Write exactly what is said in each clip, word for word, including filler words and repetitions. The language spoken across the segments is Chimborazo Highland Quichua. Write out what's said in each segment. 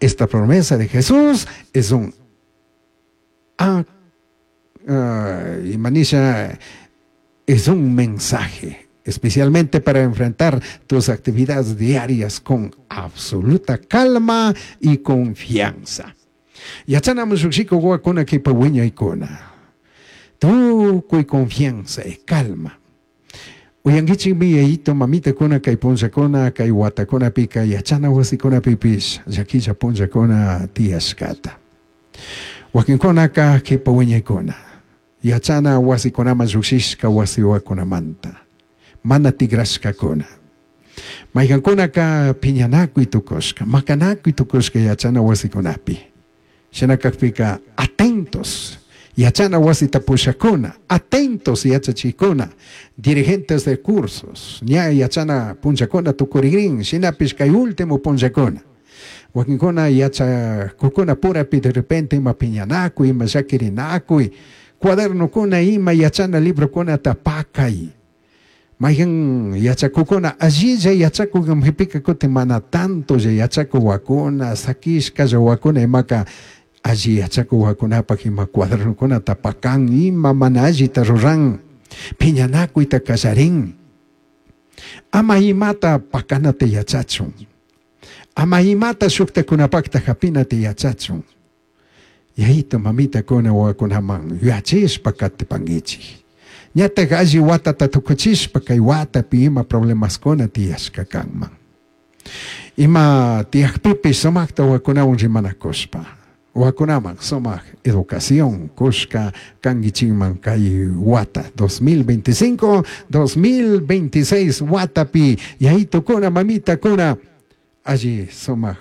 Esta promesa de Jesús es un ah, uh, imanisha, es un mensaje especialmente para enfrentar tus actividades diarias con absoluta calma y confianza. Yachanaman llukshiku wawakuna kipa wiñaykuna. Tukuy confianza y calma. Uyankichikmi yayito mamitakuna kay punllakuna kay watakunapika yachana wasikunapipish llakilla punllakuna tiyashkata. Wakinkunaka kipa wiñaykuna yachana wasikunaman llukshishka wasiwakunamanta mana tigrashkakuna. Maykankunaka piñanakuy tukushka, makanakuy tukushka yachana wasikunapi. Shina kakpika atentos yachana wasita pushakuna, atentos yachachikuna, dirigentes de cursos, ña yachana punllakuna tukurigrin, shinapish kay último punllakuna. Wakinkuna yachakukuna purapi de repente ima piñanakuy, ima llakirinakuy, cuadernokuna ima yachana librokuna pakay. Mayhan yachakukuna allilla yachakuk kutin mana tanto yachakuk wakuna, sakishka wakuna imaka alli yachakuk wakunapak ima cuadernokunata pakan ima mana allita ruran piñanakuyta kallarin. Ama imata pakanata yachachun. Ama imata shuktakunapakta hapinata yachachun. Yayito mamitakuna wawakunaman yuyachishpa katipankichik. Ñatak alli watata tukuchishpa kay watapi ima problemaskuna tiyashka kanman. Ima tiyakpipish sumakta wawakunawan rimanakushpa. Wawakunaman sumak educación kushka kankichikman kay wata dos mil veinticinco, dos mil veintiséis watapi yayitukuna mamitakuna alli sumak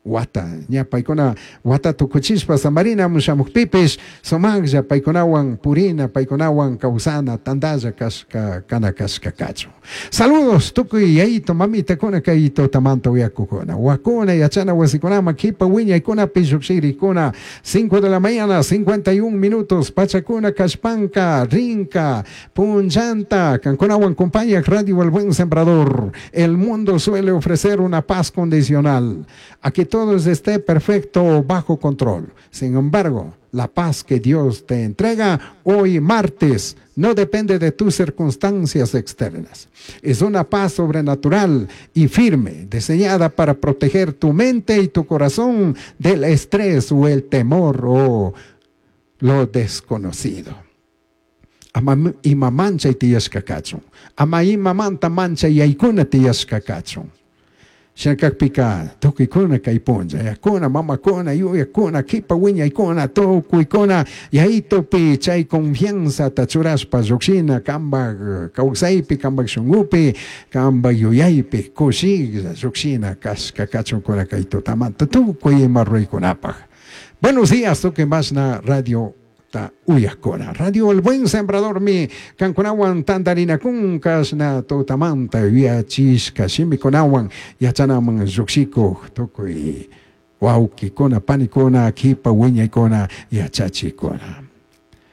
wata ña paykuna wata tukuchishpa samarina shamukpipish sumaklla paykunawan purina paykunawan kawsana tantalla kashka kana kashka kachun. Saludos tukuy yayito mamitakuna kay tutamanta uyakukuna wakuna yachana wasikunaman kipa wiñaykuna lluqshirikuna cinco de la mañana cincuenta y un minutos pachakuna kashpanka rinka punchanta kankunawan compañía Radio El Buen Sembrador. El mundo suele ofrecer una paz condicional a que todo esté perfecto bajo control. Sin embargo, la paz que Dios te entrega hoy martes no depende de tus circunstancias externas. Es una paz sobrenatural y firme, diseñada para proteger tu mente y tu corazón del estrés o el temor o lo desconocido. Ama ima manchay tiyashka kachun. Ama ima manta manchay yaykuna tiyashka kachun. Shakakpika tukuykuna kay punlla, yakuna, mamakuna, yuyakuna, kipa wiñaykuna, tukuykuna, yaytupi chay confianza churashpa llukshina, kambak kawsaypi, kambak shunkupi, kambak yuyaypi, kushilla llukshina kashka kachunkuna kay tutamanta, tukuy ima ruraykunapaj. Buenos días, tukuy mashna radio ta uyakuna. Radio El Buen Sembrador mi kankunawan tantarinakun kashna tutamanta yuyachishka shimikunawan yachanaman lluqshikuq tukuy wawqikuna panikuna kipa wiñaykuna yachachikuna.